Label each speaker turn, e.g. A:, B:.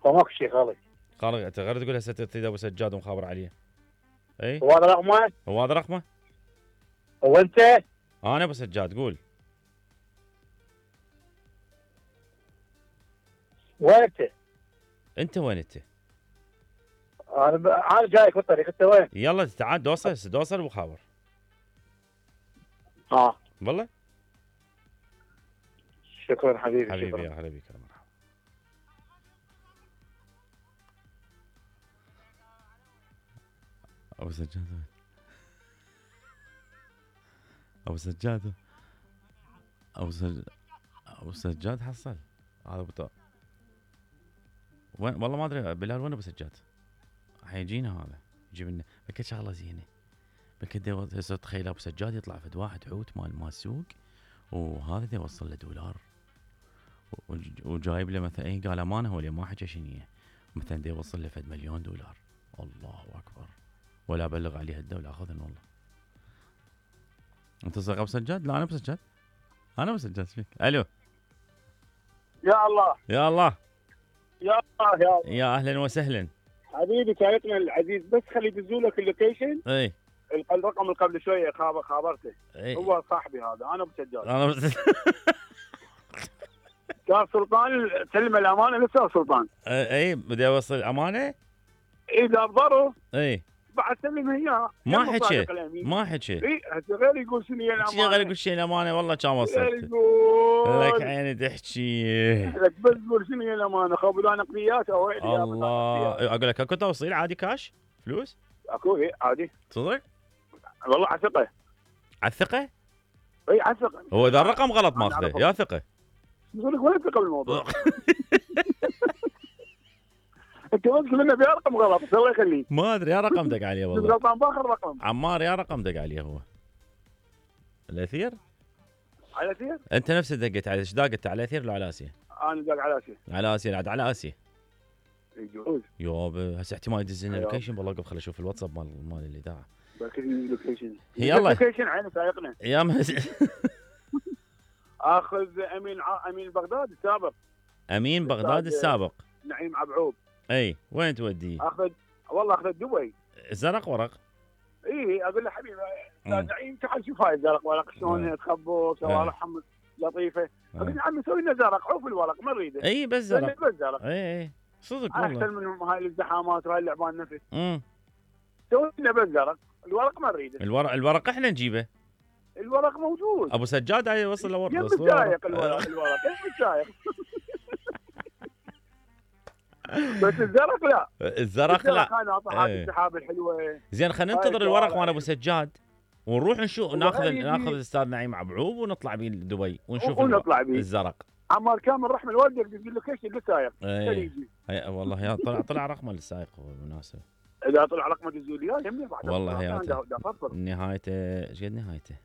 A: فماكو شيء غلط.
B: خالق انت غير تقول هسه تريد ابو سجاد ومخابر عليه. اي
A: هو هذا رقمه؟
B: هو هذا رقمه؟
A: هو انت؟
B: انا ابو سجاد قول.
A: وين انت؟
B: انت وين انت؟
A: انا جايك بالطريق، انت وين؟
B: يلا تعال دوصل وخابر. والله
A: شكرا حبيبي.
B: حبيبي
A: شكرا.
B: يا هلا بك يا مرحبا. ابو سجاد وين؟ ابو سجاد حصل هذا وين والله ما ادري بلال وين ابو سجاد؟ حيجينا هذا يجيب لنا بكل شغله زينه. بكل هسه تخيل ابو سجاد يطلع فد واحد حوت مال السوق وهذا دا يوصل له دولار وجايب له مثلا اي قال امانه هو اللي ما حكى شنيه مثلا دا يوصل له فد مليون دولار. الله اكبر. ولا ابلغ عليه الدوله اخذن والله. انت صدق ابو سجاد؟ لا انا ابو سجاد. انا ابو سجاد فيك. الو
A: يا الله
B: يا الله
A: يا الله يا الله.
B: يا اهلا وسهلا
A: حبيبي شايفنا العزيز، بس خلي يدزوا لك اللوكيشن.
B: اي
A: الرقم اللي قبل شويه خابرته.
B: اي
A: هو صاحبي هذا، انا ابو سجاد.
B: انا
A: كان سلطان سلم الامانه لسه سلطان.
B: اي بدي اوصل امانه.
A: اذا ضروا
B: اي
A: بعد سلم اياه.
B: ما حكي.
A: اي هسه غير يقول شنو هي الامانه.
B: غير يقول شيء الامانه والله كان وصلت. لك عيني تحكي.
A: لك بس تقول شنو هي الامانه، خبوا نقديات او
B: الله. اقول لك اكو توصيل عادي كاش فلوس؟
A: اكو اي عادي.
B: صدق؟
A: والله على ثقه.
B: على الثقه؟
A: اي على ثقه.
B: هو اذا الرقم غلط ماخذه يا ثقه.
A: يقول لك وين ثقه بالموضوع؟ انت بس لنا في رقم غلط الله يخليك.
B: ما ادري يا رقم دق عليه والله.
A: غلطان باخر رقم.
B: عمار يا رقم دق عليه هو. الاثير؟
A: على الاثير؟
B: انت نفسك دقيت على ايش دقت على الاثير ولا على اسيا؟
A: انا دق على اسيا.
B: على اسيا عاد على اسيا.
A: يجوز.
B: يابا هسه احتمال يدز لنا اللوكيشن والله خل اشوف الواتساب مال الاذاعه.
A: باكر اللوكيشن.
B: يلا
A: اللوكيشن عين سايقنا.
B: يا
A: اخذ امين بغداد السابق.
B: امين بغداد السابق.
A: نعيم عبعوب.
B: اي وين توديه؟
A: اخذ دبي.
B: زرق ورق.
A: اي اقول له حبيبي نعيم تعال شوف هاي الزرق ورق شلون تخبر شوارعهم لطيفه. اقول له عمي سوي لنا زرق، عوف الورق ما نريده.
B: اي بس زرق.
A: بس زرق.
B: اي صدق والله
A: احسن من هاي الازدحامات وهاي اللعبان نفس. سوي لنا بس زرق، الورق ما نريده.
B: الورق احنا نجيبه.
A: الورق موجود.
B: ابو سجاد عليه يوصل له ورق.
A: يم السايق الورق يم السايق. بس الزرق لا.
B: الزرق لا.
A: انا اعطي السحاب الحلوه.
B: زين خلينا ننتظر الورق مال ابو سجاد ونروح نشوف ناخذ الاستاذ نعيم عبعوب ونطلع بيه دبي ونشوف الزرق.
A: عمار كامل رحم الوالد يقول له كيش للسايق.
B: والله يا طلع رقمه للسايق هو بالمناسبه.
A: اذا طلع رقمه الزوليا يمني بعد.
B: والله يا نهايته ايش قد نهايته؟